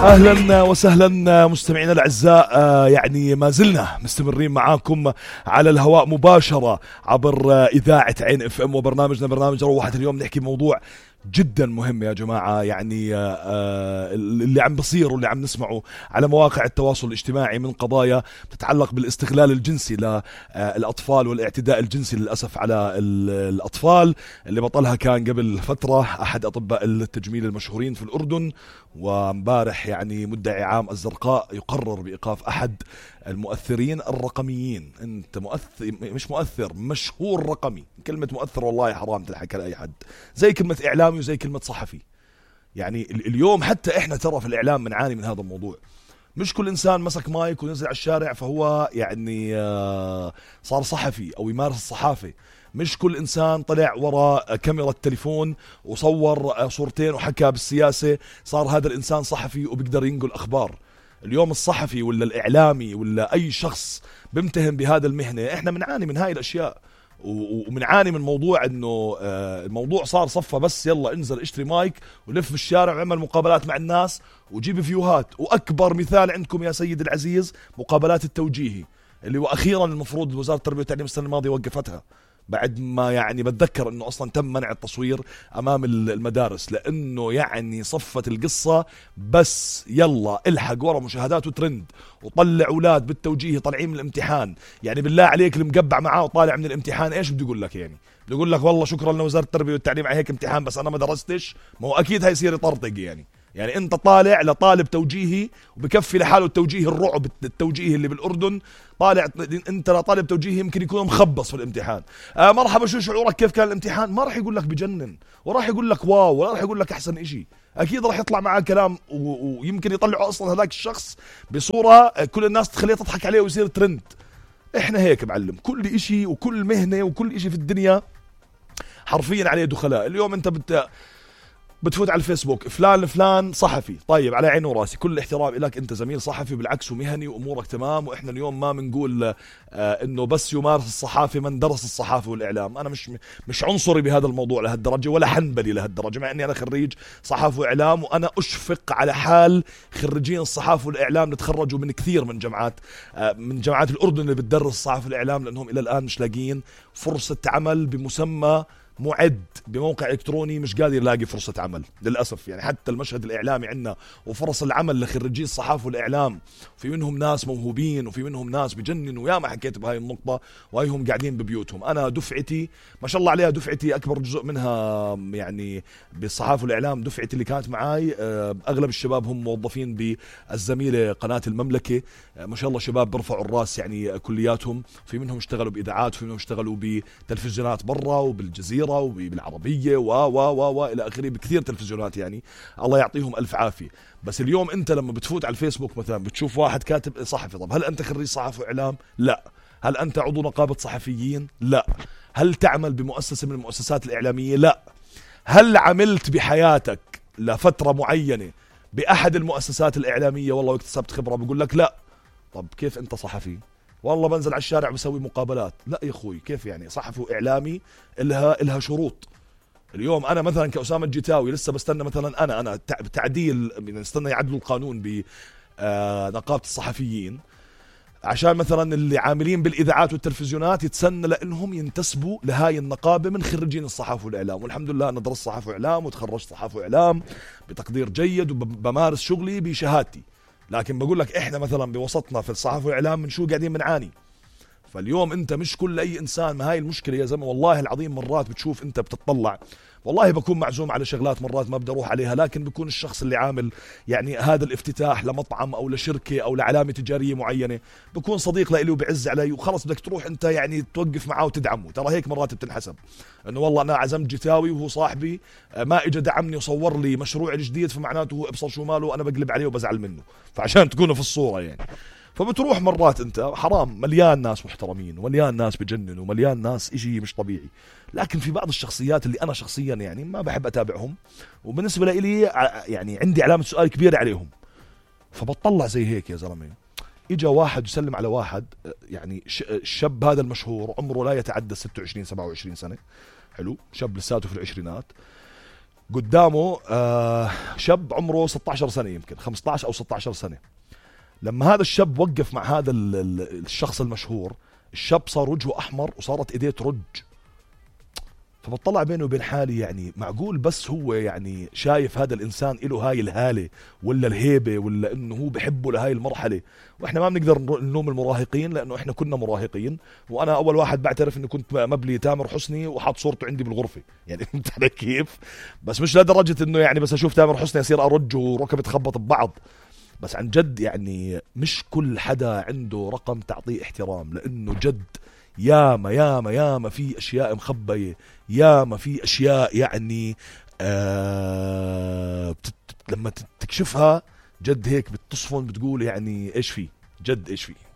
أهلا وسهلا مستمعينا الأعزاء، يعني ما زلنا مستمرين معاكم على الهواء مباشرة عبر إذاعة عين اف ام وبرنامجنا برنامج روحة. اليوم نحكي موضوع جدا مهم يا جماعة، يعني اللي عم بصير واللي عم نسمعه على مواقع التواصل الاجتماعي من قضايا تتعلق بالاستغلال الجنسي للأطفال والاعتداء الجنسي للأسف على الأطفال، اللي بطلها كان قبل فترة أحد أطباء التجميل المشهورين في الأردن. ومبارح يعني مدعي عام الزرقاء يقرر بإيقاف أحد المؤثرين الرقميين. أنت مؤثر مش مؤثر، مشهور رقمي. كلمة مؤثر والله حرام تلحق على أي حد، زي كلمة إعلامي وزي كلمة صحفي. يعني اليوم حتى إحنا ترى في الإعلام بنعاني من هذا الموضوع. مش كل إنسان مسك مايك ونزل على الشارع فهو يعني صار صحفي أو يمارس الصحافة. مش كل إنسان طلع وراء كاميرا التليفون وصور صورتين وحكى بالسياسة صار هذا الإنسان صحفي وبيقدر ينقل أخبار. اليوم الصحفي ولا الإعلامي ولا أي شخص بمتهم بهذا المهنة، إحنا بنعاني من هاي الأشياء، ومنعاني من موضوع انه الموضوع صار صفة بس يلا انزل اشتري مايك ولف في الشارع وعمل مقابلات مع الناس وجيب فيوهات. واكبر مثال عندكم يا سيد العزيز مقابلات التوجيهي، اللي واخيرا المفروض وزارة التربية والتعليم السنة الماضية وقفتها، بعد ما يعني بتذكر انه اصلا تم منع التصوير امام المدارس، لانه يعني صفت القصة بس يلا الحق ورا مشاهدات وترند وطلع اولاد بالتوجيهي طالعين من الامتحان. يعني بالله عليك المقبع معاه وطالع من الامتحان ايش بده يقول لك؟ يعني بده يقول لك والله شكرا لوزارة التربية والتعليم على هيك امتحان بس انا ما درستش؟ ما هو اكيد هيصير يطرطق. يعني انت طالع لطالب توجيهي وبكفي لحاله التوجيه الرعب التوجيهي اللي بالاردن، طالع انت لطالب توجيهي يمكن يكون مخبص في الامتحان. مرحبا شو شعورك كيف كان الامتحان؟ ما راح يقول لك بجنن وراح يقول لك واو ولا راح يقول لك احسن اشي. اكيد راح يطلع معاه كلام ويمكن يطلعوا اصلا هذاك الشخص بصورة كل الناس تخليه تضحك عليه ويصير ترند. احنا هيك معلم، كل اشي وكل مهنة وكل اشي في الدنيا حرفيا عليه دخلاء. اليوم انت بتفوت على الفيسبوك فلان صحفي، طيب على عيني وراسي كل احترام لك، انت زميل صحفي بالعكس ومهني وامورك تمام. واحنا اليوم ما بنقول انه بس يمارس الصحافه من درس الصحافه والاعلام. انا مش عنصري بهذا الموضوع لهالدرجه ولا حنبلي لهالدرجه، مع اني انا خريج صحافه واعلام وانا اشفق على حال خريجين الصحافه والاعلام اللي تخرجوا من كثير من جامعات الاردن اللي بتدرس الصحافه والاعلام، لانهم الى الان مش لاقيين فرصه عمل بمسمى معد بموقع الكتروني، مش قادر يلاقي فرصة عمل للأسف. يعني حتى المشهد الإعلامي عندنا وفرص العمل لخريجي الصحافة والإعلام في منهم ناس موهوبين وفي منهم ناس بجننوا، ويا ما حكيت بهاي النقطة، وهيهم قاعدين ببيوتهم. أنا دفعتي ما شاء الله عليها، دفعتي أكبر جزء منها يعني بالصحافة والإعلام دفعتي اللي كانت معاي، أغلب الشباب هم موظفين بالزميلة قناة المملكة، ما شاء الله شباب برفعوا الراس يعني كلياتهم، في منهم اشتغلوا بإذاعات وفي منهم اشتغلوا بتلفزيونات برا وبالجزيرة وبالعربية و إلى آخره بكثير تلفزيونات، يعني الله يعطيهم ألف عافية. بس اليوم أنت لما بتفوت على الفيسبوك مثلا بتشوف واحد كاتب صحفي، طب هل أنت خريج صحافة وإعلام؟ لا. هل أنت عضو نقابة صحفيين؟ لا. هل تعمل بمؤسسة من المؤسسات الإعلامية؟ لا. هل عملت بحياتك لفترة معينة بأحد المؤسسات الإعلامية والله واكتسبت خبرة؟ بقول لك لا. طب كيف أنت صحفي؟ والله بنزل على الشارع بسوي مقابلات. لا يا اخوي، كيف يعني؟ صحفي واعلامي الها شروط. اليوم انا مثلا كأسامة الجتاوي لسه بستنى مثلا انا تعديل، نستنى يعدلوا القانون بنقابة الصحفيين عشان مثلا اللي عاملين بالاذاعات والتلفزيونات يتسنى لانهم ينتسبوا لهاي النقابة من خريجين الصحافة والاعلام. والحمد لله انا درست صحافة واعلام وتخرجت صحافة واعلام بتقدير جيد وبمارس شغلي بشهادتي. لكن بقول لك احنا مثلا بوسطنا في الصحافة والاعلام من شو قاعدين بنعاني. فاليوم انت مش كل اي انسان، ما هاي المشكلة يا زلمة. والله العظيم مرات بتشوف انت بتطلع، والله بكون معزوم على شغلات مرات ما بدي اروح عليها، لكن بكون الشخص اللي عامل يعني هذا الافتتاح لمطعم او لشركة او لعلامة تجارية معينة بكون صديق لإلي وبعز علي، وخلص بدك تروح انت يعني توقف معاه وتدعمه. ترى هيك مرات بتنحسب، انه والله انا عزمت جتاوي وهو صاحبي ما اجى دعمني وصور لي مشروع الجديد، فمعناته هو ابصر شو ماله وانا بقلب عليه وبزعل منه، فعشان تكونوا في الصورة يعني. فبتروح مرات انت حرام، مليان ناس محترمين ومليان ناس بجننوا ومليان ناس اشي مش طبيعي، لكن في بعض الشخصيات اللي انا شخصيا يعني ما بحب اتابعهم، وبالنسبة لي يعني عندي علامة سؤال كبيرة عليهم. فبطلع زي هيك يا زلمة، اجا واحد يسلم على واحد، يعني الشاب هذا المشهور عمره لا يتعدى 26 27 سنة، حلو، شاب لساته في العشرينات، قدامه شاب عمره 16 سنة، يمكن 15 أو 16 سنة. لما هذا الشاب وقف مع هذا الشخص المشهور، الشاب صار وجهه أحمر وصارت إيديه ترج. فبطلع بينه وبين حالي، يعني معقول بس هو يعني شايف هذا الإنسان إله هاي الهالة ولا الهيبة، ولا إنه هو بحبه لهاي المرحلة. وإحنا ما بنقدر نلوم المراهقين لأنه إحنا كنا مراهقين، وأنا أول واحد بعترف إني كنت مبلي تامر حسني وحاط صورته عندي بالغرفة، يعني فهمت علي كيف؟ بس مش لدرجة إنه يعني بس أشوف تامر حسني أصير أرج وركبي تخبط ببعض. بس عن جد يعني مش كل حدا عنده رقم تعطيه احترام، لأنه جد ياما ياما ياما في أشياء مخبية، ياما في أشياء يعني لما تكشفها جد هيك بتصفن، بتقول يعني إيش فيه، جد إيش فيه.